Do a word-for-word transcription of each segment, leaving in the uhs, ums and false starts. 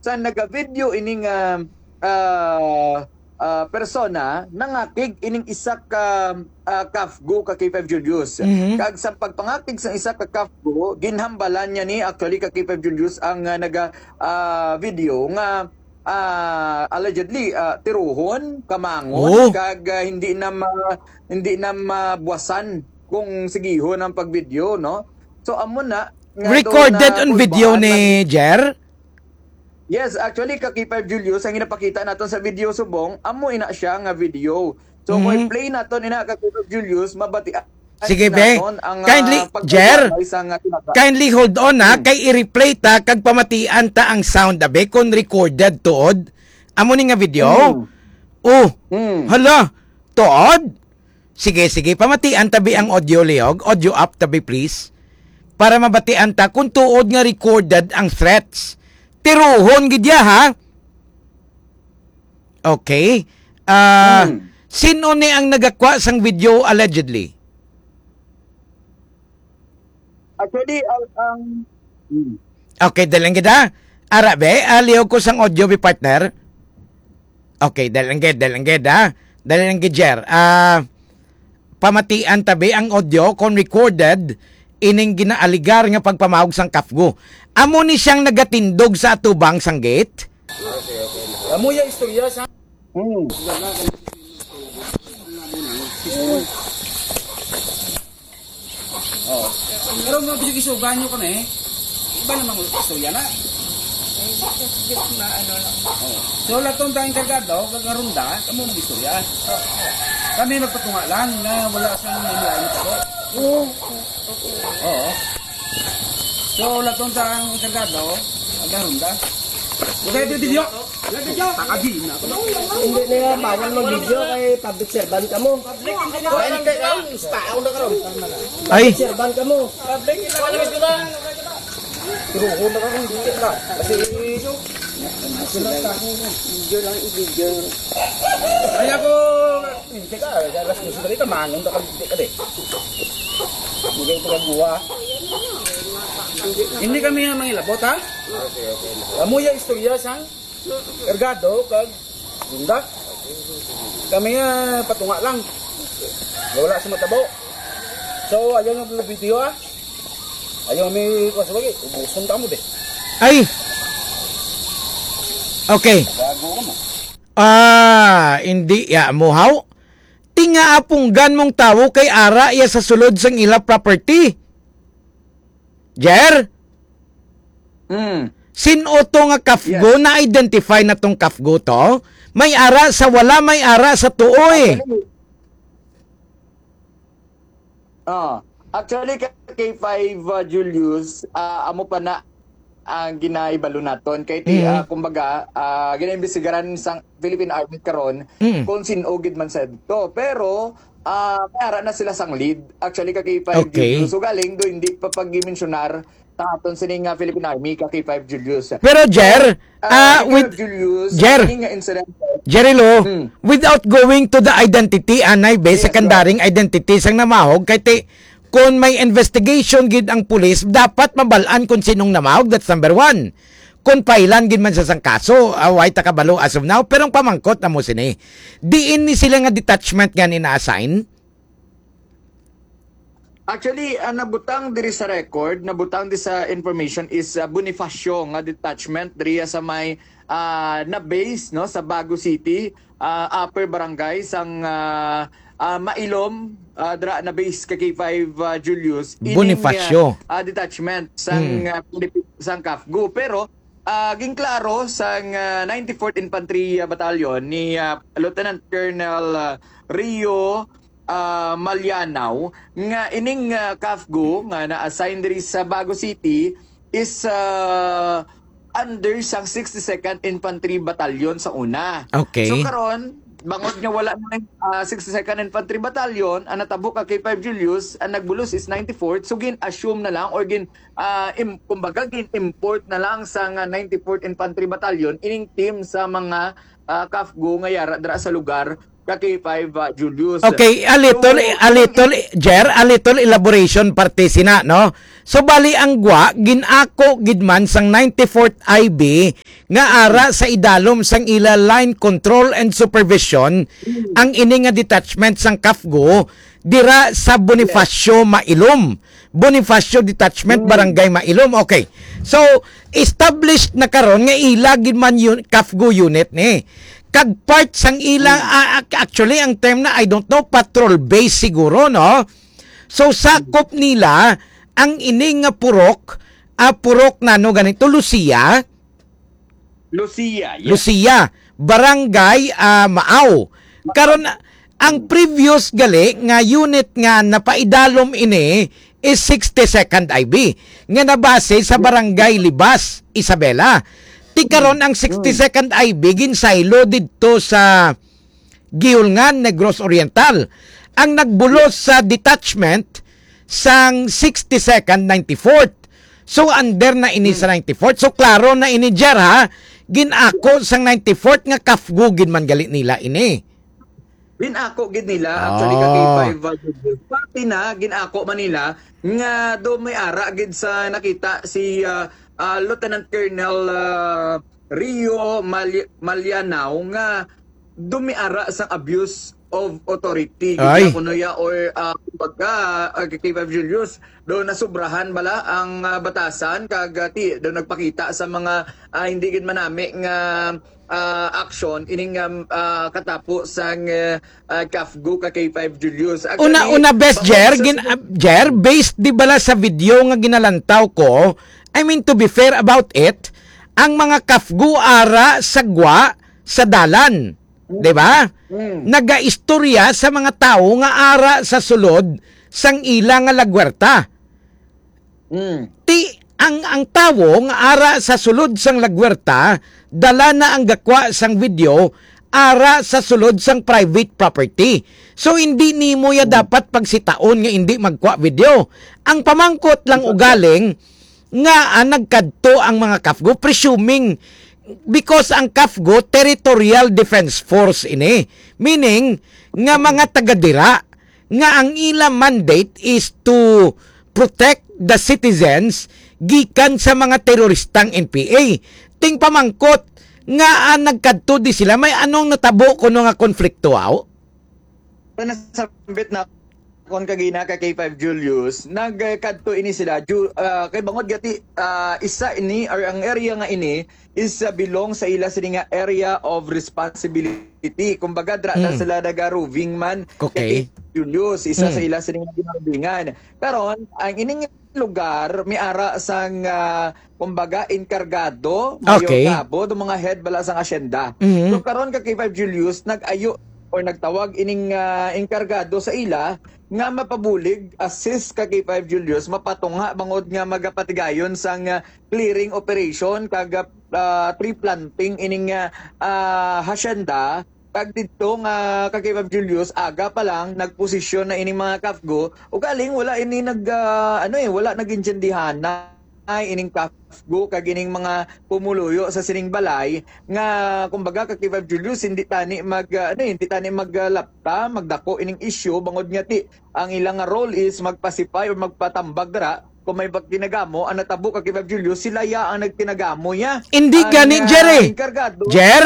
sa naga-video ining, ah, ah, ah, persona nangakig ining isa ka, ah, CAFGU ka K five Julius. Mhm. Kag sa pagpangakig sa isa ka CAFGU, ginhambalan niya ni actually ka K five Julius ang, ah, naga, ah, video nga, ah, allegedly, ah, tiruhon, kamangon, Oh. kag, ah, hindi na ma-, hindi na mabuwasan kung sigihon ang pagvideo, no? So, amo na nga Recorded daw na on video kulbahan ni lang. Jer? Yes, actually, ka K five Julius, ang ginapakita naton sa video subong, amo ina siya nga video. So, kung Mhm. i-play naton ina ka K five Julius, mabatian Sige, be. naton ang, Kindly, ah, Jer, pagpalabay sa nga tinaga. kindly hold on, ha, Hmm. kay i-replay ta kag pamatian ta ang sound, abe, kung recorded tuod. Amo ni nga video. Hmm. Oh, Hmm. hala, tuod? Sige, sige, pamatian tabi ang audio, Leog. Audio up tabi, please. Para mabatian ta kung tuod nga recorded ang threats. Tiruhon gid ya, ha? Okay. Ah, Hmm. sino ni ang nagakwa sang video allegedly? Actually, ang, ang, hmm. Okay, dalang gid, ha? Ara, be, ah, liog ko sang audio, be, partner. Okay, dalang gid, dalang gid, ha? Dalang gid, Jer. Ah, pamatian tabi ang audio kon recorded ining ginaaligar nga pagpamawag sang CAFGU. Amo ni siyang nagatindog sa atubang sang gate. Amo ya istorya sa Hmm. Oh. Pero nga bisig isugan nyo kami, iba namang istorya na. Ay, just, just maano lang. Oh. So, laton tayong kargado, kag ronda, kamo mag-istorya. Kami magpatunga lang na wala sa mga lain ko. Oo. Okay lang. Oo. So, laton tayong kargado, kag ronda. Okay, video. Hindi na yan, bawal mag-video kay public servant ka mo. Ay, hindi na, tao na karon. Ay. Public servant ka mo. Public, wala ka ba? Pero kung na karon, hindi ka. Kasi, video lang, i-video. Ay, ako, hindi ka. Alas dos na rin, kamangon na kami, hindi ka, di. Hindi ka ito kaguha. Hindi kami ang mangilabot, ha? Amo ya istorya sang Ergado kag Gunda. Kami nga patunga lang. Wala sa matabo. So, ayaw nga video, ha? Ayaw may kuwan sa bagay. Ubuson ka mo, be. Ay! Okay. Bago ka mo. Ah, hindi ya mo, haw? Tinga apunggan mong tawo kay ara iya sa sulod sang ila property. Jer? Mm. Sin-o to nga CAFGU? Yes. Na-identify na tong CAFGU to? May ara sa wala, may ara sa tuo eh. Actually, ah, actually, ka K five, ah, Julius, ah, amo pa na ang ginaibalo naton. Kay ti, Mm. ah, kumbaga, ah, ginaimbestigaran sang Philippine Army karon Mm. kung sin-o gid man sa dito. Pero, ah, may ara na sila sang lead. Actually, ka K five Okay. Julius. So, galing do, hindi pa pag-mensionar ta aton sini nga Philippine Army, ka K five Julius. Pero, Jer, So, ah, ah, ikaw, with Julius, Jer, ini nga incident. Jerry Lo, Mm. without going to the identity, anay, be, Yes, secondary sir. Identity sang namahog, kay ti, kung may investigation gid ang pulis, dapat mabalaan kung sinong namahog, that's number one. Kung pailan gid man sa sang kaso, ah, way ta kabalo as of now, pero ang pamangkot na mo sini, diin ni sila nga detachment nga ni na-assign? Actually, ang nabutang diri sa record, nabutang diri sa information is, ah, Bonifacio nga detachment diri sa may, ah, na base, no, sa Bago City, ah, Upper Barangay sang, ah, ah, Mailom, ah, dira na base ka K five, ah, Julius. Ining, Bonifacio. Ah, ah, detachment sang, Mm. ah, Pilipin-, sang CAFGU. Pero, ah, ginklaro sang, ah, ninety-fourth Infantry, ah, Battalion ni, ah, Lieutenant Colonel, ah, Rio ah, Malianao nga ining, ah, CAFGU nga na-assign diri sa Bago City is, ah, under sang sixty-second Infantry Battalion sa una. Okay. So, karon, bangod nga wala na, ah, sixty-second Infantry Battalion, ang natabo ka K five Julius, ang nagbulos is ninety-fourth. So, gin-assume na lang or gin-, ah, im-, kumbaga, gin-import na lang sa nga ninety-fourth Infantry Battalion ining team sa mga, ah, CAFGU nga yara dira sa lugar ka K five, ah, Julius. Okay, a little, So, a little, Jer, a little elaboration parte sina, no? So, bali ang gwa, ginako gid man sang ninety-fourth I B nga ara sa idalom sang ila line control and supervision ang ini nga detachment sang CAFGU dira sa Bonifacio Mailom. Bonifacio Detachment, Barangay Mailom. Okay. So, established na karon nga ila gid man yun, CAFGU unit ni. Kag part sang ila, ah, ac-, actually, ang term na, I don't know, patrol base siguro, no? So, sakop nila ang ini nga purok, ah, purok nano ganito, Lucia? Lucia, yes. Lucia, Barangay, ah, Maaw. Karon, ang previous gali nga unit nga napaidalom ini is sixty-second I B nga nabase sa Barangay Libas, Isabela. Ti karon ang sixty-second I B ginsaylo didto sa Guiulngan, Negros Oriental. Ang nagbulos sa detachment sang sixty-second, ninety-fourth. So, under na ini sa ninety-fourth. So, klaro na ini, Jer, ha? Ginako sang ninety-fourth nga CAFGU gid man gali nila ini. Ginako gid nila, actually, ka Ah. K five, uh, Pati na, ginako man nila nga do may ara gid sa nakita si, ah, ah, Lieutenant Colonel, ah, Rio Mali-, Malianao nga do may ara sang abuse of authority, gid Ay. na kuno ya, or, ah, kumbaga, ah, K five Julius, do nasubrahan bala ang, ah, batasan, kag, ah, ti-, do nagpakita sa mga, ah, hindi gid manami nga, ah, action ining, um, ah, katapo sang, ah, ah, CAFGU ka K five Julius. Una, Actually, una, best, bangod Jer, sa gin-, ah, Jer, based di bala sa video nga ginalantaw ko, I mean, to be fair about it, ang mga CAFGU ara sa gwa sa dalan, di ba? Mm. Nagaistorya sa mga tawo nga ara sa sulod sang ila nga lagwerta. Mm. Ti, ang, ang tawo nga ara sa sulod sang lagwerta, dala na ang gakwa sang video, ara sa sulod sang private property. So, hindi nimo ya Mm. dapat pagsitaon nga hindi magkwa video. Ang pamangkot lang Exactly. ugaling nga, ah, nagkadto ang mga CAFGU, presuming, because ang CAFGU, Territorial Defense Force ini. Meaning, nga mga taga dira, nga ang ila mandate is to protect the citizens gikan sa mga teroristang N P A. Ting pamangkot nga, ah, nagkadto di sila, may anong natabo kuno nga konflikto, aw? Sa nasambit na kon kagina ka K five Julius, nagkadto ini sila, Ju-, ah, kay bangod gati, ah, isa ini, or ang area nga ini, is, uh, belong sa ila sini nga area of responsibility. Kumbaga, dra na Mm. sila naga-roving man. Okay. Kay Julius, isa sa Mm. ila sini nga ginaruvingan. Karon, ang ining lugar, may ara sang, ah, kumbaga, enkargado, mayor Okay. kabo, do mga head bala sang asyenda. Mhm. So, karon ka K five Julius, nag-ayo or nagtawag ining, ah, enkargado sa ila nga mapabulig, assist ka K five Julius, mapatunga bangod nga magapatigayon sang, ah, clearing operation kag, ah, tree planting ining, ah, ah, hacienda. Kag didto nga kag kay Ma'am Julius, aga pa lang nagposisyon na ining mga CAFGU. Ugaling wala ini nag, ah, ano eh, wala nag-intindihan na ay ining CAFGU kag ining mga pumuluyo sa sining balay nga, kumbaga, kag kay Ma'am Julius, hindi tani mag, ah, ano eh, hindi tani mag, ah, lapta, magdako ining issue bangod nga ti ang ilang nga role is magpasipay or magpatambag dira. Kung may pagtinagamo ang natabo ka kay Ma'am Julius, sila ya ang nagtinagamo niya. Hindi Ang, gani, ah, Jerry. Enkargado. Jer,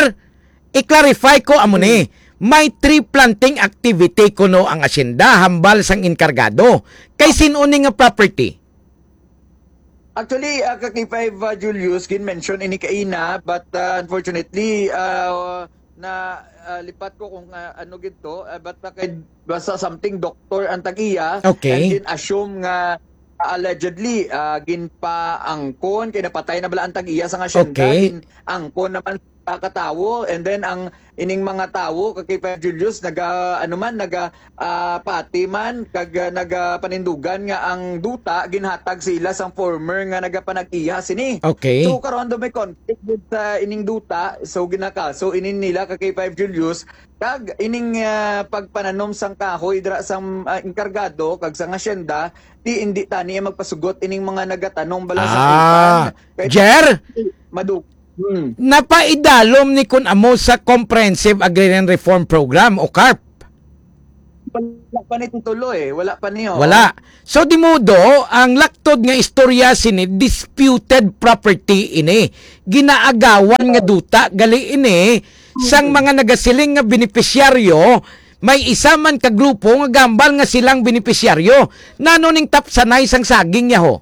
i-clarify ko amo ni. Hmm. May tree planting activity kuno ang asyenda hambal sang enkargado. Kay sin-o ni nga property? Actually, ah, ka K five, ah, Julius, gin-mention ini kaina, but, ah, unfortunately, ah, na, ah, lipat ko kung, ah, ano gid to, ah, but, ah, kay, basta something doctor ang tag-iya, Okay. and gin-assume nga, ah, allegedly, ah, ginpaangkon, kay napatay na bala ang tag-iya sa nga asyenda, Okay. gin-angkon naman sa katawo, and then ang ining mga tawo, ka K five Julius, naga, ano man, naga, ah, pati man, kag, ah, nagapanindugan nga ang duta ginhatag sa ila sang former nga nagapanag-iya sini. Okay. So, karon do may conflict gid sa ining duta, so ginakaso ini nila ka K five Julius, kag ining, ah, pagpananom sang kahoy dira sang, ah, enkargado kag sang asyenda, ti indi tani magpasugot ining mga nagatanom bala sa Ah, utan. Kay Jer? Madu- Hmm. Napaidalom ni kun amo sa Comprehensive Agrarian Reform Program o CARP. Wala pa ni tulo eh. Wala pa niyo. Wala. So, di modo, ang laktod nga istorya sini, disputed property ini. Ginaagawan nga duta, gali ini, sang mga nagasiling nga benepisyaryo, may isa man ka grupo nga gambal nga silang benepisyaryo. Nano ning tapsanay sang saging, yaho?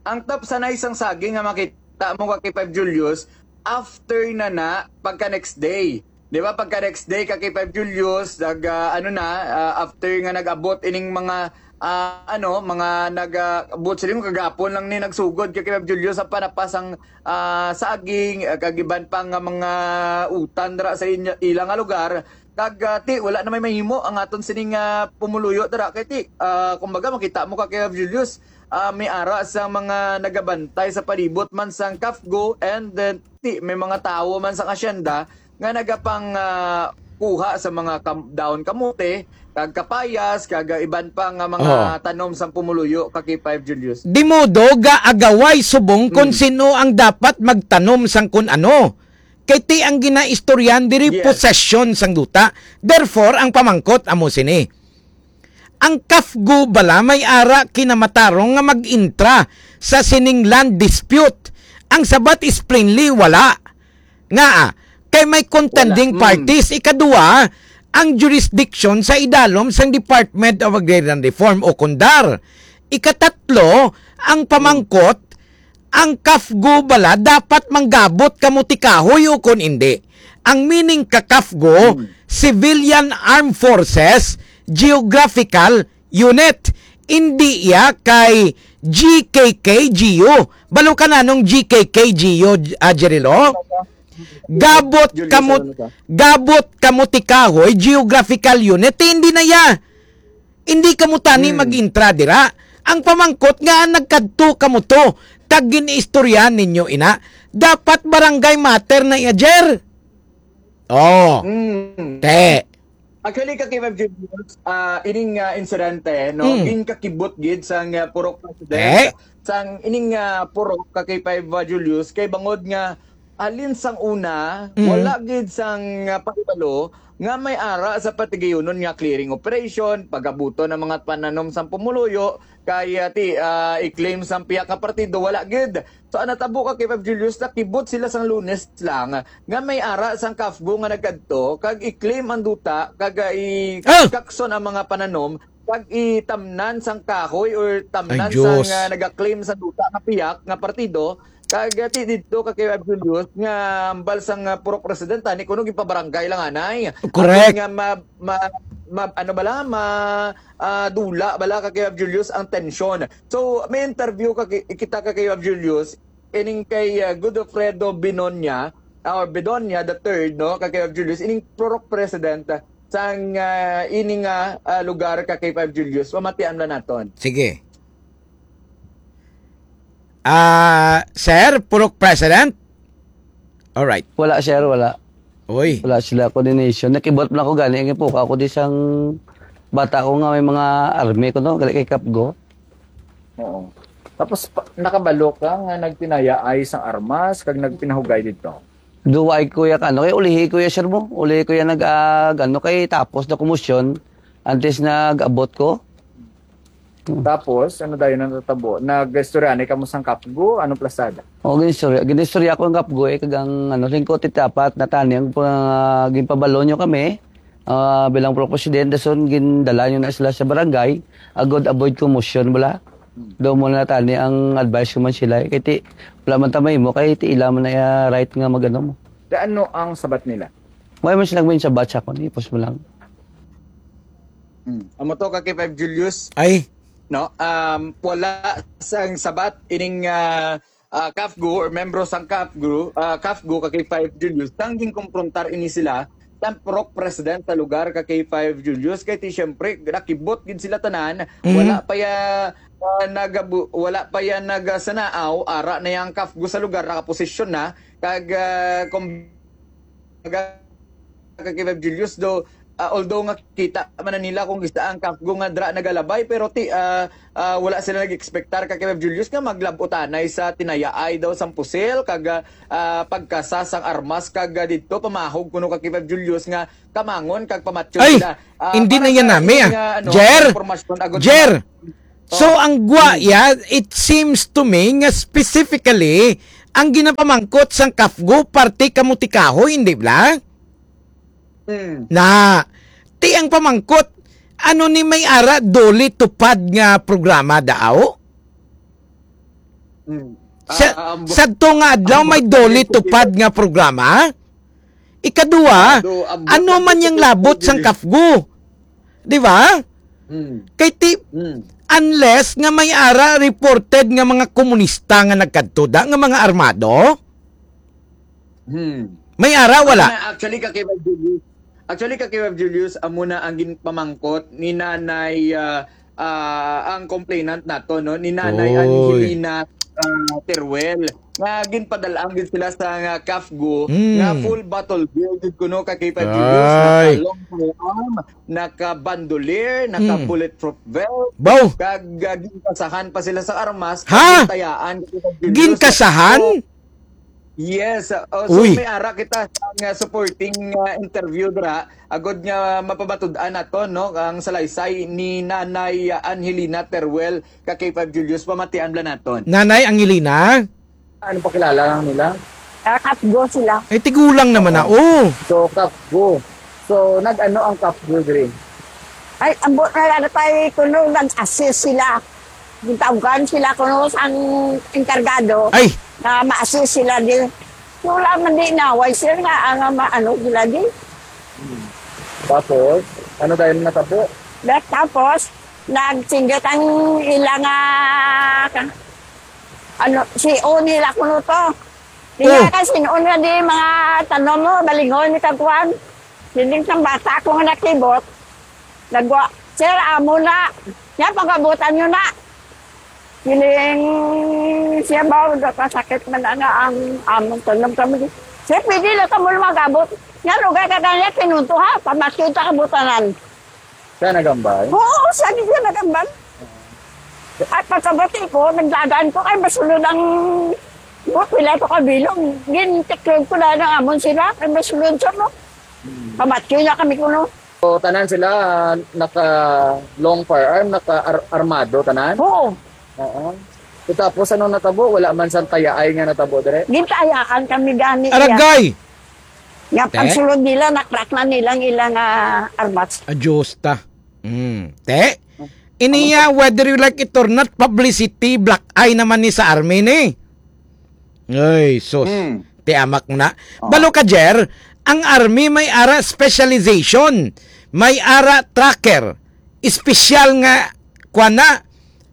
Ang tapsanay sang saging nga makita mo ka K five Julius, after na na, pagka next day. Di ba, pagka next day ka K five Julius, nag, ah, ano na, ah, after nga nag-abot ining mga, ah, ano, mga nag, ah, abot sila yung kagapon lang ni nagsugod kay K five Julius ang panapas ang, ah, saging, ah, kag iban pa nga mga utan dira sa inya, ila nga lugar. Kag, ah, ti, wala na may mahimo ang aton sining, ah, pumuluyo dira. Kay ti, ah, kumbaga, makita mo ka kay Julius, ah, may ara sa mga nagabantay sa palibot man sang CAFGU, and then ti, may mga tawo man sang asyenda nga nagapang, ah, kuha sa mga kam-, dahon kamote, kag kapayas, kag, ah, iban pa nga mga Oo. tanom sang pumuluyo ka K five Julius. Di modo gaagaway subong kung Mm. sino ang dapat magtanom sang kun ano. Kay ti ang ginaistoryahan diri, Yes. posesyon sang duta. Therefore, ang pamangkot amo sini. Ang CAFGU bala may ara kinamatarong nga mag-intra sa sining land dispute? Ang sabat is plainly wala. Ngaa? Kay may contending Wala. Mm. parties. Ikadua, ang jurisdiction sa idalom sang Department of Agrarian Reform o kundar. Ikatatlo, ang pamangkot, ang CAFGU bala dapat manggabot kamo ti kahoy o kon indi? Ang meaning ka CAFGU, Hmm. Civilian Armed Forces Geographical Unit. Indi iya kay G K K G U. Balo ka na nung G K K G U, ah, Jerilo? Gabot Julius, kamo, ano ka? gabot kamo ti kahoy, geographical unit, hindi na iya. Hindi kamo tani Hmm. mag-intra dira. Ang pamangkot nga nagkadto kamo to, kag gin-istoryahan ninyo ina. Dapat barangay matter na iya, Jer. Oh. Hmm. Te. Actually, ka K five Julius, ah, ining, ah, insidente, no, Mm. ginkakibot gid sang, ah, purok president, Eh? sang ining, ah, purok ka K five, ah, Julius, kay bangod nga halin sang una, Mm. wala gid sang, ah, pahibalo nga may ara sa patigayunon nga clearing operation, pagabuton ang mga pananom sang pumuluyo, kay, ah, ti, ah, i-claim sang pihak nga partido, wala gid. So, ang natabo ka K five Julius, nakibot sila sang Lunes lang nga may ara sang CAFGU nga nagkadto kag i-claim ang duta kag, ah, i-, Ah! kakson ang mga pananom kag itamnan sang kahoy or tamnan Ay, sang, Diyos. ah, nagaklaim sa duta nga piyak nga partido. Kag, ah, ti didto ka K five Julius nga hambal sang, ah, purok presidente ni kuno gipabarangay lang anay. Correct. Aron nga ma-, ma-, ma-, ano bala, ma-, ah, dula bala ka K five Julius ang tensyon. So, may interview ka ki-, kita ka K five Julius, ining kay, ah, Godofredo Binonia, ah, or Bedonia the third, no, ka K five Julius, ining purok president, ah, sang, ah, ini nga, ah, lugar ka K five Julius. Pamatian na naton. Sige. Ah, sir, purok president? Alright. Wala, sir, wala. Uy. Wala sila coordination. Nakibot lang ako gani, ang ipuka ako di sang bata ko nga may mga army ko, no? Gali kay CAFGU. Oo. Tapos, pa-, nakabalo ka nga nagpinayaay sang armas, kag nagpinahugay dito? Duway ko ya, ano, kay ulihi ko ya, sir mo. Ulihi ko ya nag, ah, ano, kay tapos na kumusyon, antes nag-abot ko. Hmm. Tapos, ano dayon ang natabo? Nag-istorya ni kamo sang CAFGU? Ano plasada? O, ginistorya, ginistorya ko ang CAFGU, eh, kag ang, ano, lingkot iti apat na tani ang pa-, ginpabalo nyo kami, ah, bilang pro president, dason gindala nyo na sila sa barangay, agod avoid commotion, bala. Hmm. Daw mo na tani ang advice ko man sila, eh, kay ti, wala man tamay mo, kay ti ila man na, ah, right nga magano mo. Da ano ang sabat nila? Wala man silang may sabat sa akon, ipos mo lang. Hmm. Amo to ka K five Julius. Ay. No? Um, wala sang sabat ining, ah, ah, CAFGU or membro sang CAFGU, ah, CAFGU ka K five Julius, sang ginkumprontar ini sila sang purok president sa lugar ka K five Julius, kay ti siyempre nakibot gid sila tanan, Mhm. wala pa ya, ah, nagabu-, wala pa ya nagasanaaw, ara na yang CAFGU sa lugar, nakaposisyon na, kag, ah, kumbaga, ka K five Julius, do, ah, although nga kita man na nila kung isa ang CAFGU nga dra nagalabay, pero ti, ah, ah, wala sila nag-expectar ka kay Julius nga maglabutanay sa tinayaay daw sang pusil, kag, ah, ah, pagkasa sang armas, kag, ah, didto pamahog kuno ka kay Julius nga kamangon kag pamatyon Ay, sila. Ah, hindi para na yan sa nami, ining, ah. ah, ano, Jer! impormasyon, agod Jer! So, Oh. ang gwa, Hmm. ya, it seems to me nga specifically, ang ginapamangkot sang CAFGU, parte ka mutikahoy, hindi bala? Hmm. Na, ti ang pamangkot, ano ni may ara duli tupad nga programa daaw? Hmm. Sa, Ah, ang bu-, sadto nga adlaw ang may bu-, duli tupad nga programa? Ikaduha, Ado, ang ano bu-, man yang labot sang CAFGU? Di ba? Hmm. Kay ti-, Hmm. unless nga may ara reported nga mga komunista nga nagkadto da, nga mga armado? Hmm. May ara, wala? Amo na, actually, ka Kuya Julius. Actually, ka Kuya Julius, amo na ang ginpamangkot ni Nanay, ah, ah, ang complainant nato, no? Ni Nanay Oy. Angelina, ah, Teruel. Nga ginpadal-an gid sila sa nga CAFGU, Hmm. nga full battle gear gid kuno ka Kuya Julius, Ay. naka long firearm, naka bandolier, naka Hmm. bulletproof vest, Baw. kag, ah, ginkasahan pa sila sa armas, Ha? kag gintayaan gid ka Kuya Julius. Ginkasahan? So, Yes, uh, oh, so Uy. may ara kita sa nga supporting, uh, interview dira, agod nga mapamatud-an naton, no, ang salaysay ni Nanay, uh, Angelina Teruel ka K five Julius, pamatian bala naton. Nanay Angelina? Ano pakilala lang nila? Ah, CAFGU sila. Ay, tigulang naman na, Oo. oh. So, CAFGU. So, nag-ano ang CAFGU diri? Ay, ambot na lang tayo kuno, nag-assist sila. Gitawgan sila kuno sang enkargado Ay! na ma-assist sila di. Wala man di naway sila nga ang ma-, ano sila di. Hmm. Tapos, ano tayo natabo? Tapos, nagsinggit ang ila nga, ano, si O nila kuno to. Di Oh. nga, sin-o na di mga tanom mo, balingon ni kagkuan. Siling sang bata ko nga nakibot, nagwa, "Sir, amo na. Nya, pagabutan nyo na." Siling siya ba, kasakit man na nga ang among tanom kami. "Sir, pwede lang kamo magabot. Nya, lugay ka kanya, pinunto ha. Pamatyon ta kabutanan." Siya nagambal? Oo, siya din siya nagambal. At pagkabati ko, nagdagan ko, kay masulod ang, oh, pila to ka bilog. Gintiklog ko na ng amon sila, kay masulod siya mo. Hmm. Pamatyo niya kami kuno. So, tanan sila, ah, naka long firearm, naka ar-, armado, tanan? Oo. Oo. So, tapos, ano natabo? Wala man sang tayaay nga natabo, dire? Gintayaan kami gani, iya. Aragay! Nga Te? pagsulod nila, na-crack na nilang ilang, ah, armas. Adios ta. Mm. Te? Iniya, whether you like it or not, publicity, black eye naman ni sa army ni. Ay, sus. Hmm. Te, amak mo na. Oh. Balo ka, Jer, ang army may ara specialization, may ara tracker, espesyal nga, kwa na,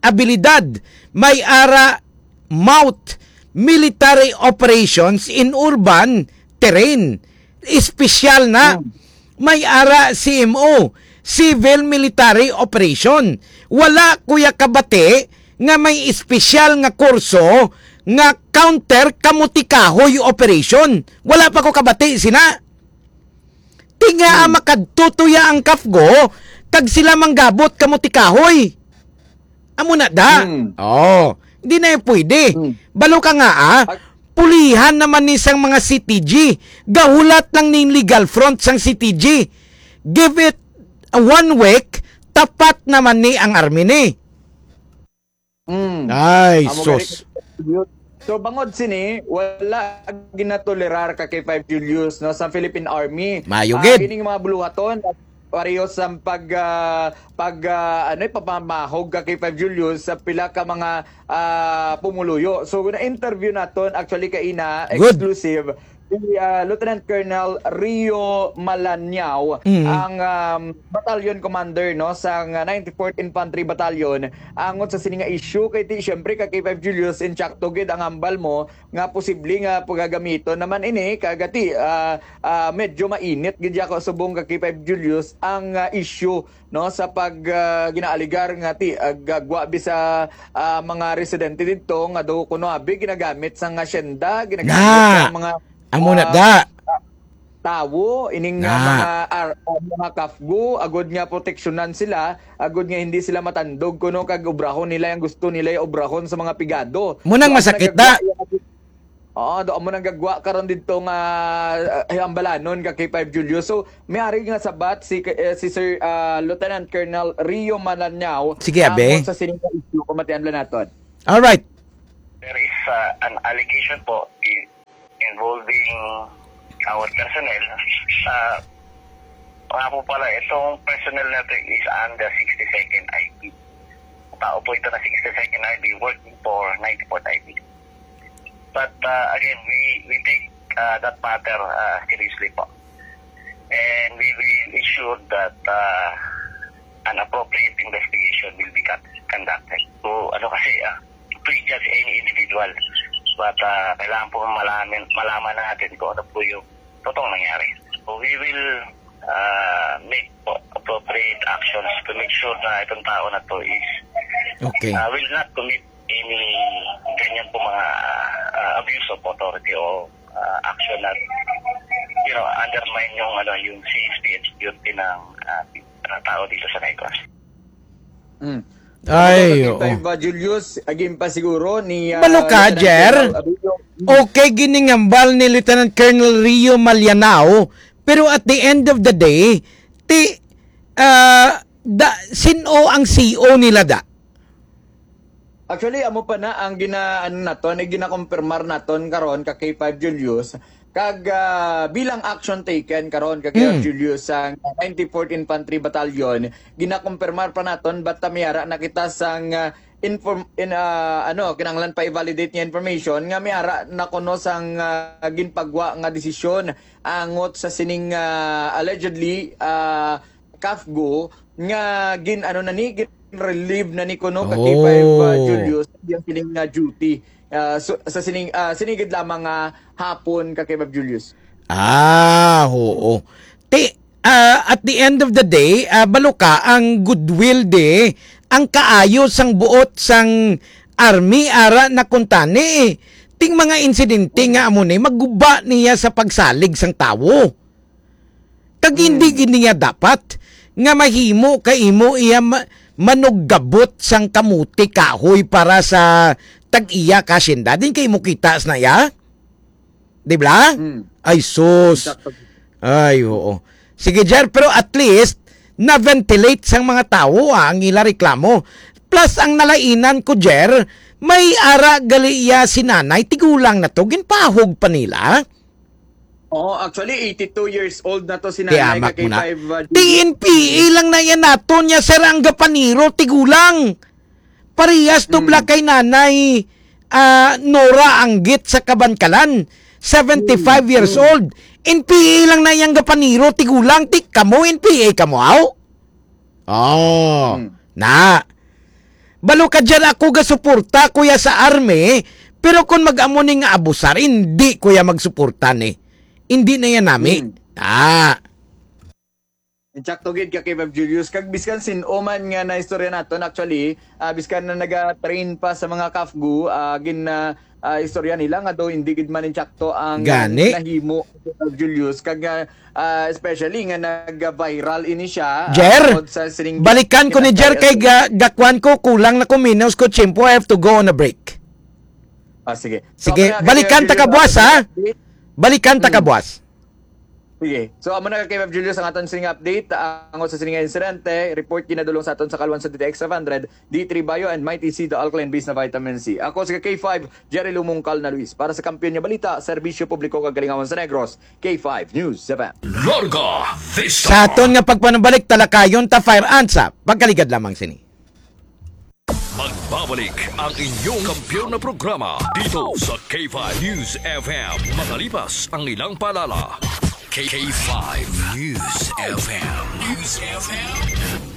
abilidad, may ara MOUT, military operations in urban terrain. Espesyal na. Hmm. May ara C M O, civil military operation. Wala ko ya kabati nga may espesyal nga kurso nga counter kamutikahoy operation. Wala pa ko kabati sina. Ti nga Hmm. makadto tuya ang kafgo, kag sila manggabot kamutikahoy. Amo na da. Hmm. Oh, di na yung pwede. Hmm. Balo ka nga, ah. Ag- Pulihan naman ni sang mga C T G. Gahulat lang ning legal front sang C T G. Give it a one week, tapat naman ni ang army ni. Mm. Ay, Amo gani, sus. So, bangod sini, wala ginatolerar ka K five Julius, no, sa Philippine Army. Maayo Ah, gid. Kining mga buluhaton, pareho sa pag, ah, pag, ah, ano, pagpamahog ka K five Julius sa pila ka mga, ah, pumuluyo. So, na-interview naton, actually, kaina, Good. exclusive, si, ah, Lieutenant Colonel Rio Malanyao, Mm. ang, um, battalion commander, no, sa nga ninety-fourth Infantry Battalion, angot sa sini nga issue. Kay ti, syempre, ka K five Julius, insakto gid ang hambal mo nga posible nga pagagamiton naman ini, kagati, ah, ah, medyo mainit gid ako subong ka K five Julius ang, ah, issue, no, sa pag, ah, ginaaligar nga ti, ah, gagwa bi sa, ah, mga residente didto nga do kuno abi ginagamit sa nga asyenda, ginagamit Na! sa mga, Amo na ah, da. tawo, ining, ah, Na. mga ar-, ah, mga kafgo, agod nga proteksyonan sila, agod nga hindi sila matandog kuno kag obrahon nila ang gusto nila obrahon sa mga pigado. Mo nang Do amo masakit nagagwa na. yung Oo, do amo nang gagwa karon didto nga, ah, hambalanon ka K five Julio. So, may ari nga sabat si, eh, si Sir, ah, Lieutenant Colonel Rio Malanao Sige, abe. tungod sa sining nga issue, pamatian lang naton. Alright. There is, uh, an allegation po i-, involving our personnel. Uh, nga po pala, itong personnel natin is under sixty-second I P. Tao po ito na sixty-second I P working for ninety-fourth I P. But, uh, again, we, we take, uh, that matter, uh, seriously po. And we will ensure that, uh, an appropriate investigation will be con-, conducted. So, ano kasi, ah, prejudge any individual. But, ah, kailangan po malaman, malaman natin kung ano po yung totoong nangyari. So, we will, ah, make po appropriate actions to make sure na itong tao na to is, Okay. ah, will not commit any ganyan po mga, ah, abuse of authority o, ah, action na, you know, undermine yung, ano, yung safety and security ng, ah, mga tao dito sa Negros. Mm. Ay, Ano ba, oo. K five, uh, Julius, agin pa siguro ni, uh, Balo ka, Lieutenant Jer? Colonel Abelio. Mm. Okay, gini nga hambal ni Lieutenant Colonel Rio Malianao, pero at the end of the day, ti, ah, da, sin-o ang C O nila da? Actually, amo pa na ang gina-, ano naton, eh, ginakumpirmar naton karon ka K five Julius, kag, ah, bilang action taken karon ka K five Hmm. Julius sa ninety-fourth Infantry Battalion, ginakumpirmar pa naton, basta may ara na kita sang, ah, inform-, in, ah, ano, kinahanglan pa i-validate nga information nga may ara na kuno sang, ah, ginpagwa nga desisyon angot sa sining, ah, allegedly, ah, kafgo nga gin-, ano na ni, gin-relieve na ni kuno ka K five, ah, Oh. Julius, yung sining nga duty, ah, so, sa sining, ah, sinigid lamang nga hapon ka K five Julius. Ah, oo. Ti, ah, at the end of the day, ah, balo ka ang goodwill di, ang kaayo sang buot sang army ara na kuntani. Ting mga insidente nga amo ni, maguba niya sa pagsalig sang tawo. Kag hindi Hmm. gid niya dapat nga mahimo ka imo iya ma-, manuggabot sang kamote kahoy para sa tag-iya ka asyenda. Din kay mo kita sa na iya? Di ba? Hmm. Ay, sus. Exactly. Ay, oo. Sige, Jer, pero at least, na-ventilate sang mga tawo, ah, ang ila reklamo. Plus, ang nalainan ko, Jer, may ara gali iya si nanay, tigulang na to, ginpahog pa nila. Oo, actually, eighty-two years old na to si Nanay Tiamak ka mo na. K five, uh, T N P A lang na yan naton niya, sir, ang gapaniro, tigulang. Parehas to Mm. bla kay Nanay, ah, Nora Anggit sa Kabankalan, seventy-five Mm, years mm. old. N P A lang na yang gapaniro, tigulang, ti kamo, N P A kamo, aw? Oh, Hmm. na. Balo ka dyan, ako gasuporta, kuya, sa army, pero kung mag-amo ni nga abusar, hindi, kuya, magsuporta ni. Hindi na yan nami. Hmm. Ah. Insakto gid ka kay Ma'am Julius. Kag biskan sin-o man nga naistorya naton, actually, ah, biskan na naga-train pa sa mga kafgu, ah, gin, ah, ah, istorya nila nga daw hindi gid man insakto ang Gani? nahimo, Ma'am Julius. Kag, ah, ah, especially nga nag-viral ini siya, ah, Jer, tungod sa sining balikan ko ni Jer kay ga-, gakuan ko, kulang na ko, minus ko tiyempo, I have to go on a break. Ah, sige. So, Sige, kaya balikan kay ta Jer, kabuas, ah, ha? Balikan ta Hmm. kabuas. Sige. So, amo na ka, K five Julius, ang aton sining update. Ang sa sining insidente, report ginadulong sa aton sa Kalwan sa D T X five hundred, D three Bio, and Mighty C, the alkaline base na vitamin C. Ako si K five, Jerry Lumungkal na Luis. Para sa Kampiyon nga Balita, Serbisyo Publiko kag Kalingawan sa Negros, K five News seven. Larga Vista. Sa aton nga pagpanubalik, talakayon ta fire ants, ah. Pagkaligad lamang sini. Magbabalik ang inyong kampiyon na programa dito sa K five News F M. Makalipas ang ilang paalala. K five News F M. News F M.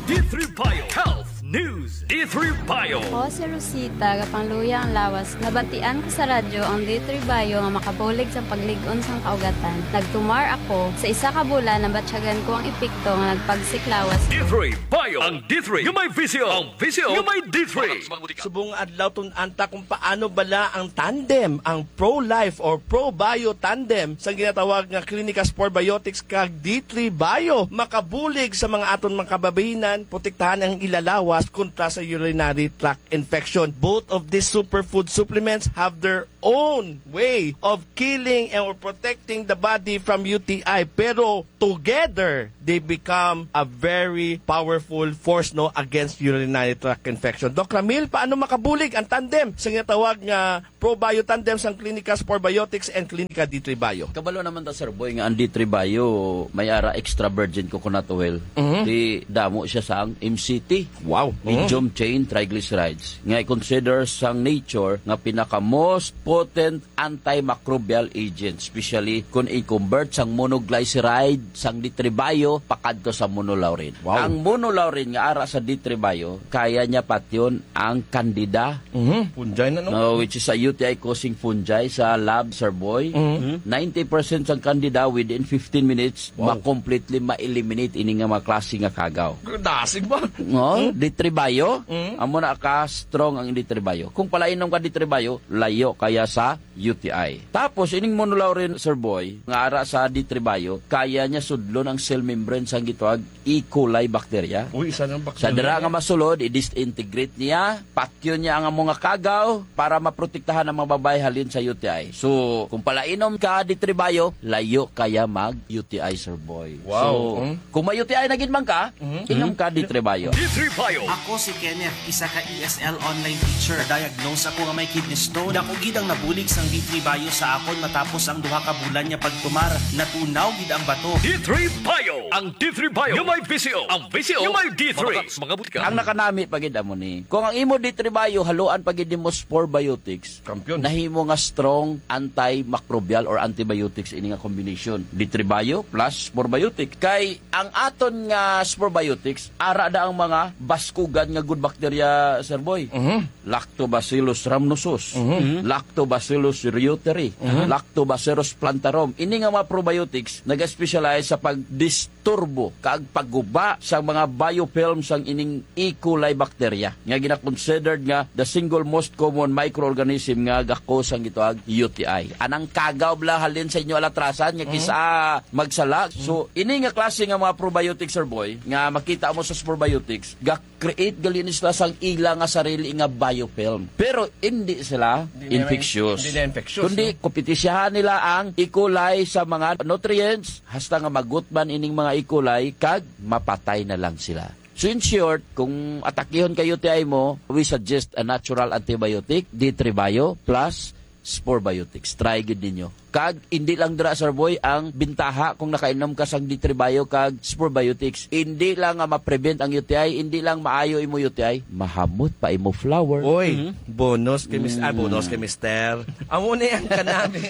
D three Bio Health News D three Bio. Ako si Rosita, gapangluya ang lawas. Nabatian ko sa radyo ang D three Bio nga makabulig sa paglig-on sang kaugatan. Nagtumar ako. Sa isa ka bulan, nabatyagan ko ang epekto nga nagpagsik lawas ko. D three Bio. Ang D three nga may visyo. Ang visyo nga may D three. Subong adlaw, tun-an ta kung paano bala ang tandem, ang Pro Life or Pro Bio tandem sa ginatawag nga Clinicas Probiotics kag D three Bio makabulig sa mga aton mga kababayinan, protektahan ang ilalawas kontra sa urinary tract infection. Both of these superfood supplements have their own way of killing and protecting the body from U T I, pero together they become a very powerful force, no, against urinary tract infection. Doc Ramil, paano makabulig ang tandem sa ginatawag nga Probio tandem sang Clinicas Probiotics and Clinica D three Bio? Kabalo naman ta, Sir Boy, nga ang D three Bio may ara extra virgin coconut oil. Mhm. Di damo siya sang M C T. Wow. Mhm. Medium chain triglycerides, nga i-consider sang nature nga pinaka most potent antimicrobial agent, especially kung i-convert sang monoglyceride sang D three Bio pakadto sa monolaurin. Wow. Ang monolaurin nga ara sa D three Bio, kaya niya patyon ang candida. Mhm. Fungi na, no? No, which is a U T I causing fungi sa lab, Sir Boy. Mhm. Ninety percent sang candida within fifteen minutes, wow, ma-completely ma-eliminate ini nga mga klase nga kagaw. Dasig ba? No, hmm? D three Bio, hmm, amo na ka strong ang D three Bio. Kung palainom ka D three Bio, layo kaya sa U T I. Tapos, ining monolaurin, Sir Boy, nga ara sa D three Bio, kaya niya sudlon ang cell membrane sang gitawag E. coli bacteria. Uy, isa ng bacteria. Sa dira nga masulod, i-disintegrate niya, patyon niya ang amo nga kagaw para maprotektahan ang mga babayi halin sa U T I. So, kung palainom ka D three Bio, layo kaya mag U T I, Sir Boy. Wow. So, hmm, kung may U T I na gid man ka, mhm, inom ka D three Bio. D three Bio. Ako si Kenneth, isa ka E S L online teacher. Diagnose ako nga may kidney stone. Dako gid ang nabulig sang D three Bio sa akon matapos ang duha ka bulan nga pagtumar. Natunaw gid ang bato. D three Bio. Ang D three Bio nga may visyo. Ang visyo nga may D three. Mga, mga butika. Ang nakanami pa gid amo ni, kung ang imo D three Bio, haluan pa gid nimo Spore Biotics, kampiyon, nahimo nga strong antimicrobial or antibiotics ini nga combination. D three Bio plus Spore Biotic. Kay ang aton nga Spore Biotics, ara da ang mga baskugan nga good bacteria, Sir Boy. Mhm. Lactobacillus rhamnosus, mhm, Lactobacillus reuteri, mhm, Lactobacillus plantarum. Ini nga mga probiotics naga-specialize sa pagdisturbo kag pagguba sa mga biofilm sang ining E. coli bacteria nga gina-considered nga the single most common microorganism nga ga-cause sang gitawag U T I. Anang kagaw bala halin sa inyo alatrasan nga, mhm, kis-a magsala. So, ini nga klase nga mga probiotics, Sir Boy, nga makita mo sa probiotics, ga-create gali ni sila sang ila nga sarili nga biofilm. Pero hindi sila, hindi nila infectious, hindi nila infectious, kundi, no, kompetisyahan nila ang E. coli sa mga nutrients hasta nga magutman ining mga E. coli kag mapatay na lang sila. So, in short, kung atakihon ka U T I mo, we suggest a natural antibiotic, D three Bio plus Spore Biotics. Try gid ninyo. Kag hindi lang dira, Sir Boy, ang bintaha kung nakainom ka sang D three Bio kag Spore Biotics. Hindi lang nga ma-prevent ang U T I, hindi lang maayo imo U T I, mahamot pa imo flower. Oy, mhm, bonus kay mis-, ah, mm, bonus kay mister. Amo ni ang kanami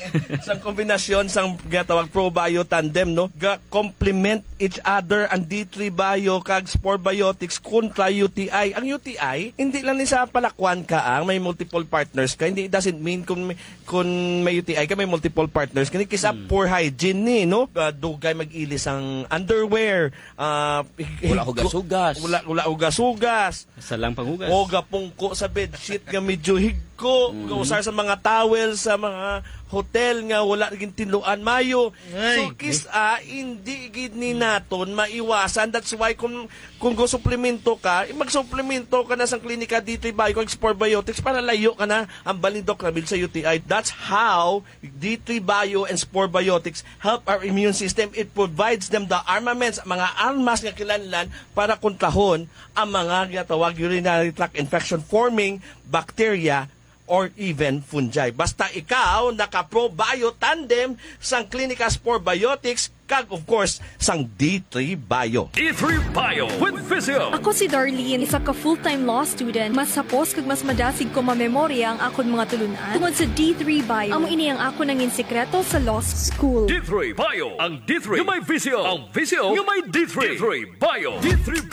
sa kombinasyon sang gatawag Pro Bio Tandem, no? Ga-complement each other ang D three Bio kag Spore Biotics kontra U T I. Ang U T I, hindi lang ni sa palakwan ka ang may multiple partners ka. Hindi, it doesn't mean kung may, kung may U T I ka, may multiple partners. Kini kis-a, hmm, poor hygiene ni, no? Ah, dugay mag-ilis ang underwear. Ah, wala hugas-hugas. Wala, wala hugas-hugas. Sa lang panghugas. O gapungko sa bedsheet nga medyo higko. Mm. Gausar sa mga towel sa mga hotel nga wala naging tinluan mayo. Ay. So, kis-a, hindi gid ni naton maiwasan. That's why kung, kung go suplemento ka, eh, magsuplemento ka na sa Klinika D three Bio, Explore Biotics para layo ka na ang balindok na sa U T I. That's how D three Bio and Spore Biotics help our immune system. It provides them the armaments, mga armas nga kinahanglan para kontrahon ang mga ginatawag urinary tract infection forming bacteria or even fungi. Basta ikaw naka-Pro Bio Tandem sang Klinika Spore Biotics kag, of course, sang D three Bio. D three Bio with Visio. Ako si Darlene, isa ka full-time law student. Mas hapos kag mas madasig ko mamemorya ang akon mga tulunan tungod sa D three Bio. Amo ini ang akon nangin sikreto sa law school. D three Bio, ang D three nga may visyo, ang visyo nga may D three. D three Bio. D three